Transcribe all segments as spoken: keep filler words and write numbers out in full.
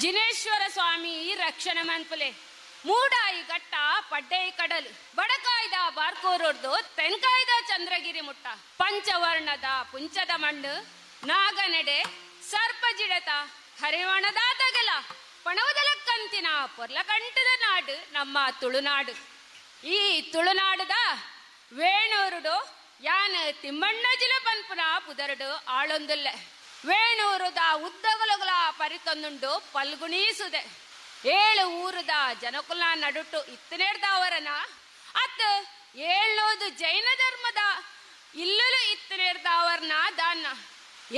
ಜಿನೇಶ್ವರ ಸ್ವಾಮಿ ರಕ್ಷಣೆ ಮನ್ಪುಲೆ. ಮೂಡಾಯಿ ಘಟ್ಟ ಪಡ್ಡೈ ಕಡಲು ಬಡಕಾಯ್ದ ಬಾರ್ಕೂರೊಡ್ದು ತೆನ್ಕಾಯ್ದ ಚಂದ್ರಗಿರಿ ಮುಟ್ಟ ಪಂಚವರ್ಣದ ಪುಂಚದ ಮಣ್ಣು ನಾಗನೆಡೆ ಸರ್ಪಜಿಡತ ಹರಿವಣದ ತಗಲ ಪಣವದಲಕ್ಕಂತಿನ ಪೊರ್ಲಕಂಟದ ನಾಡು ನಮ್ಮ ತುಳುನಾಡು. ಈ ತುಳುನಾಡುದ ವೇಣೂರುಡು ಯಾನ್ ತಿಮ್ಮಣ್ಣಜಿಲ ಪನ್ಪುನ ಪುದರುಡು ಆಳೊಂದುಲ್ಲೆ. ವೇಣೂರುದ ಉದ್ದಗಲುಗಳ ಪರಿತೊಂದುಂಡು ಪಲ್ಗುಣೀಸುದೆ. ಏಳು ಊರುದ ಜನಕುಲ ನಡುಟು ಇತ್ತನೇರ್ದವರನ ಅತ್ ಏಳ್ನೂದು ಜೈನ ಧರ್ಮದ ಇಲ್ಲಲು ಇತ್ತನೇರ್ದವರನ ದಾನ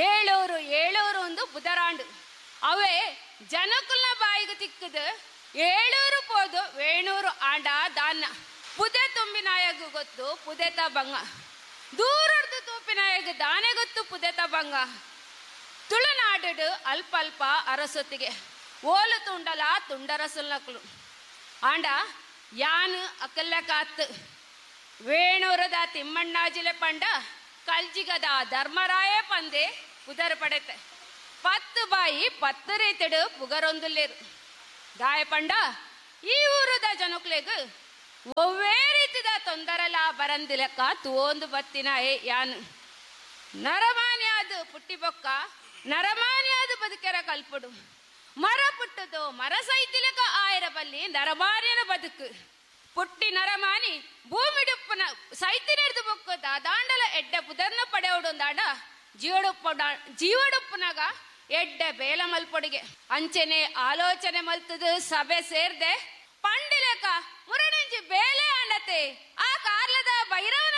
ಏಳೂರು ಏಳೂರು ಒಂದು ಬುಧರಾಂಡು ಅವೇ ಜನಕುಲ ಬಾಯಿಗೆ ತಿಕ್ಕದು ಏಳೂರು ಪೋದು ವೇಣೂರು ಆಂಡ ದಾನ. ಪುದೆ ತುಂಬಿನಾಯಗು ಗೊತ್ತು ಪುದೆತ ಬಂಗ, ದೂರರ್ದು ತೂಪಿನಾಯಗು ದಾನೆ ಗೊತ್ತು ಪುದೆತ ಬಂಗ. ತುಳುನಾಡು ಅಲ್ಪ ಅಲ್ಪ ಅರಸೊತ್ತಿಗೆ ಓಲು ತುಂಡಲ ತುಂಡರಸುಲ್ನಕ್ಲು ಆಂಡ ಯಾನು ಅಕಲ್ಲ ಕಾತ್ ವೇಣೂರದ ತಿಮ್ಮಣ್ಣಾಜಿಲೆ ಪಂಡ ಕಲ್ಜಿಗದ ಧರ್ಮರಾಯ ಪಂದೆ ಪುದರ್ ಪಡೆತೆ. ಪತ್ತು ಬಾಯಿ ಪತ್ತು ರೀತಿಡು ಪುಗರೊಂದುಲ್ಲೇರು ದಾಯ ಪಂಡ ಈ ಊರದ ಜನಕ್ಲೆಗ್ ಒವ್ವೇ ರೀತಿದ ತೊಂದರಲ ಬರಂದಿಲಕ್ಕ ತೂವೊಂದು ಬತ್ತಿನ ಏ ಯಾನು. ನರಮಾನ್ಯಾದ ಪುಟ್ಟಿ ಬೊಕ್ಕ ನರಮಾನ್ಯಾದ ಬದುಕೆರ ಕಲ್ಪುಡು ಮರ ಪುಟ್ಟದು ಮರ ಸೈತಿಲಕ ಆಯರ ಬಲ್ಲಿ ನರಮಾನ್ಯನ ಬದುಕು. ಪುಟ್ಟಿ ನರಮಾನಿ ಭೂಮಿಡುಪ್ಪನ ಸೈತಿನೆರ್ದು ಬೊಕ್ಕ ದಾದಾಂಡಲ ಎಡ್ಡೆ ಪುದರ್ನ ಪಡೆಯೋಡೊಂದಾಂಡ ಜೀವಡುಪ್ಪ ಜೀವಡುಪ್ಪನಾಗ ಎಡ್ಡೆ ಬೇಲ ಮಲ್ಪೊಡಿಗೆ ಅಂಚೆನೆ ಆಲೋಚನೆ ಮಲ್ತದು ಸಭೆ ಸೇರ್ದೆ ಪಂಡಿಲಕ ಮುರಣಿಂಜಿ ಬೇಲೆ ಅಂಡತೆ ಆ ಕಾರ್ಲದ ಭೈರವನ